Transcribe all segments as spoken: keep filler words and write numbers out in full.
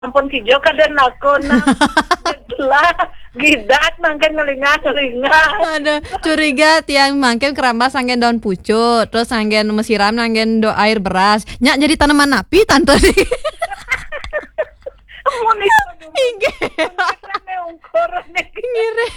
Ampun kijo kada nakon nah. Lah, gidat mangkin ngelinga-ngelinga. Aduh, curiga tiang mangkin keramas anggen daun pucuk, terus anggen mesiram anggen do air beras. Nyak jadi tanaman napi tante ni? Mun itu Inggih. Ungkur nih. Ngire.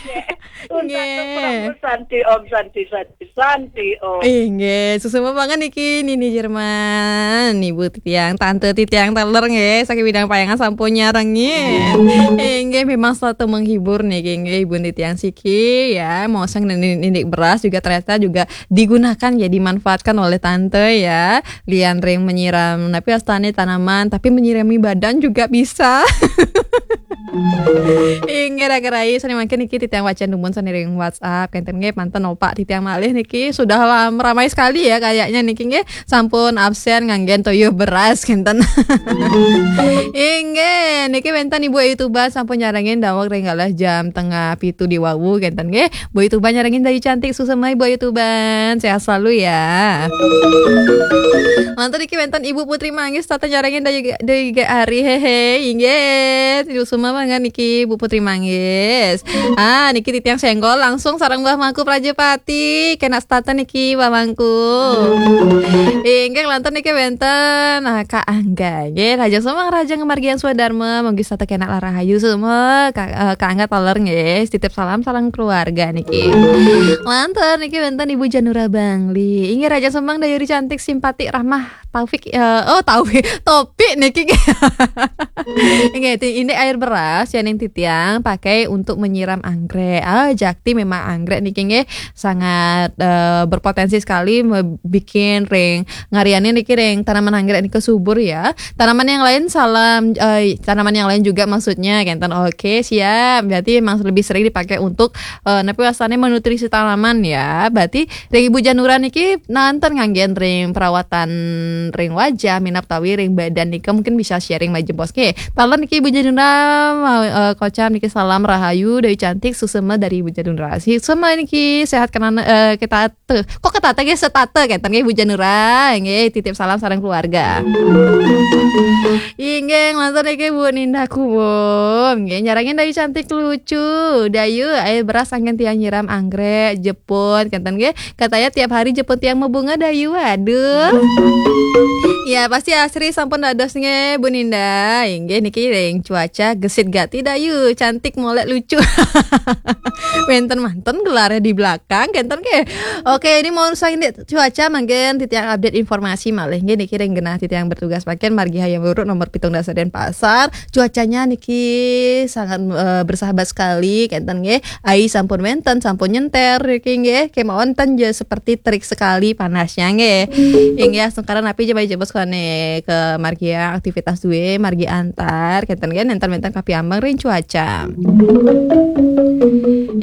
Untuk Nggih. Santi Om, Santi, Santi, Santi Om. Inggih, suksma banget niki Nini Jerman, Ibu titiang, tante titiang taler nggih, saking bidang payangan sampun nyarengin. Inggih, memang selalu menghibur niki nggih Ibu titiang siki ya. Mau sang nini- ninik beras juga ternyata juga digunakan ya, dimanfaatkan oleh tante ya. Lian ring menyiram, tapi astane tanaman, tapi menyirami badan juga bisa. Inggih, raga rai, sani mangkin niki titiang wacan dumun sani ring WhatsApp kenten nggih, manten opak titiang malih niki sudah lam, ramai sekali ya kayaknya niki nggih, sampun absen nganggen toyuh beras kenten. Inggih, niki wenten Ibu Ayu Tuban sampun nyarengin daweg ring galah jam tengah pitu di wawu kenten nggih. Bu Ayu Tuban nyarengin Dayu Cantik, suksma Ibu Ayu Tuban, sehat selalu ya. Manten niki wenten Ibu Putri Manggis tata nyarengin Dayu Dayu G Ari, hehe, inggih. Suksma banget niki Bu Putri Manggis. Ah, niki titiang senggol langsung sareng Mbah Mangku Prajapati. Kena stata niki Mbah Mangku. Inggih, lanten niki wenten nah, Kak Angga. Nggih, Raja Semang, Raja Ngemargian Swadharma, manggi stata kena larahayu semua. Kak, eh, Kak Angga taler nggih. Titip salam sareng keluarga niki. Lanten niki wenten Ibu Janura Bangli. Inggih, Raja Semang, Dayuri Cantik, Simpati, Rahmah, Taufik, eh, oh, Taufik, Topik niki. Inggih, ti- ini air beras yang titiang pakai untuk menyiram anggrek. Ah, jakti memang anggrek niki nggih sangat eh, berpotensi sekali me- bikin ring ngariane niki ring tanaman anggrek niki subur ya. Tanaman yang lain salam eh, tanaman yang lain juga maksudnya kenten. Oke, siap. Berarti memang lebih sering dipakai untuk eh, napi wastane menutrisi tanaman ya. Berarti ring Ibu Janura niki nanten nganggen ring perawatan ring wajah, minab tawi ring badan nika mungkin bisa sharing majeng bos. Oke, taler niki Ibu Janura mau eh, kocam niki salam rahayu Dayu Cantik, suksma dari Ibu Janura. Suksma niki sehat kenana eh, kita tuh. Kok ketata nggih setata kenten nggih Ibu Janura. Nggih, titip salam sareng keluarga. Inggih, lanten niki Bu Ninda Kubum. Nggih, nyarengin Dayu Cantik lucu. Dayu, air beras anggen tiang nyiram anggrek, jepun kenten nggih. Katanya tiap hari jepun tiang mau bunga Dayu. Aduh. Ya, pasti asri sampun dados nggih Bu Ninda. Inggih niki ring cuaca gesit gati Dayu, cantik molek lucu. Wenten manten gelarnya di belakang kenten nggih. Oke, ini mau usah ini cuaca mangkin titiang update informasi malih nggih niki ring genah titiang bertugas mangkin margi Hayam Wuruk nomor pitung dasa Denpasar. Cuacanya niki sangat eh, bersahabat sekali kenten nggih. Ai sampun wenten, sampun nyenter niki nggih. Kemawon ten je seperti terik sekali panasnya nggih. Inggih, astungkara napi je bayi jebos kone ke margi aktivitas duwe, margi antar kenten nggih, nenten-nenten kapiambang ring cuaca.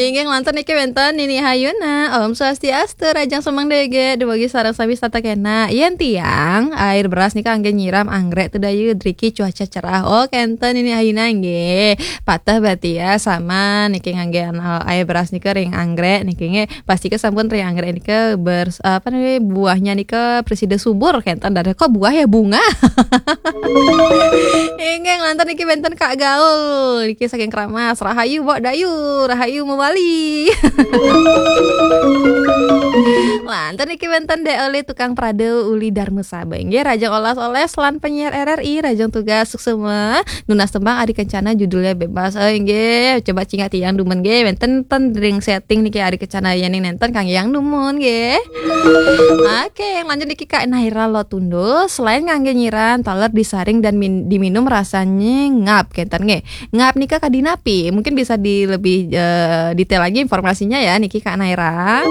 Inggih, lanten niki wenten Nini Hayuna. Om Swastiastu, Rajang Semang Dege, dumugi sareng sami setata kena. Yen tiang, air beras nika anggen nyiram anggrek tu Dayu, driki cuaca cerah. Oh, kenten Nini Hayuna nggih. Patah berarti ya sama niki nganggen eh, air beras nika ring anggrek niki nggih. Pasti ke sampun ring anggrek nika ber apa nih buahnya nika presida subur kenten dari kok buah ya bunga. Inggih, lanten niki wenten Kak Gaul. Niki saking Keramas. Rahayu Mbok Dayu, rahayu mewali. Lanten niki wenten Dek Oli tukang prade uli Darma Saba. Inggih, Rajang Olas-oles lan penyiar R R I, Rajang tugas suksma. Nunas tembang Adi Kencana judulnya Bebas. Oh, inggih, coba cingak tiang dumun nggih. Wenten ten ring setting niki Adi Kencana yening nenten kang yang dumun nggih. Oke, yang lanjut niki Kak Naira Lotundo. Selain ngangge nyiran, taler disaring dan min- diminum rasanya ngap kenten nggih. Ngap nika kadi napi? Mungkin bisa di lebih eh, detail lagi informasinya ya niki Kak Naira.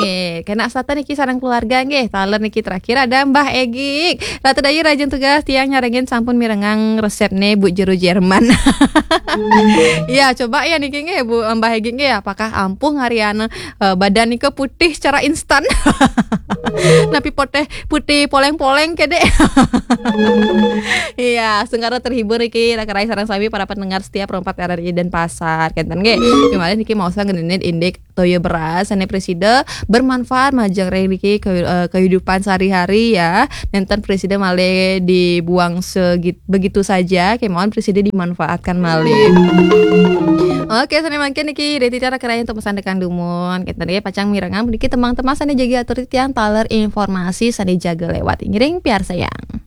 Nggih, kena sata niki sareng keluarga nggih. Taler niki terakhir ada Mbah Egik. Ratu Dayu, Rajin tugas tiang nyarengin sampun mirengang resepne Bu Jero Jerman. Ya, coba ya niki nggih Bu Mbah Egik nggih, apakah ampuh ngariana eh, badan nika putih secara instan? Napi putih putih poleng-poleng kede. Iya, astungkara terhibur iki raga rai sareng sami para pendengar setia Pro empat R R I Denpasar. Kenten nggih. Kemarin Maosna ngeunit indik toya beras, sané presida bermanfaat majeng riki ke- eh, kehidupan sehari-hari ya. Nénten presida malih dibuang segit- begitu saja, kémaon presida dimanfaatkan malih. Oke, sané mangkin niki Deti Tiara kerayaan untuk pesan dekan dumun. Kita nih pacang mirengang niki tembang-tembang sané jaga atur titiang taler informasi sané jaga lewat. Ngiring piarsayang.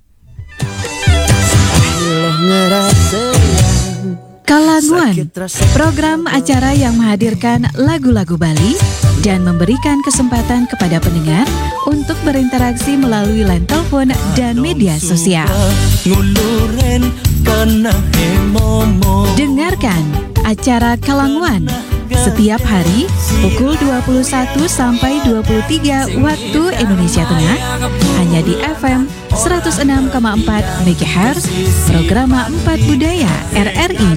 Kalanguan, program acara yang menghadirkan lagu-lagu Bali dan memberikan kesempatan kepada pendengar untuk berinteraksi melalui line telepon dan media sosial. Dengarkan acara Kalanguan setiap hari pukul dua puluh satu sampai dua puluh tiga waktu Indonesia Tengah, hanya di F M seratus enam koma empat megahertz, Programa empat Budaya R R I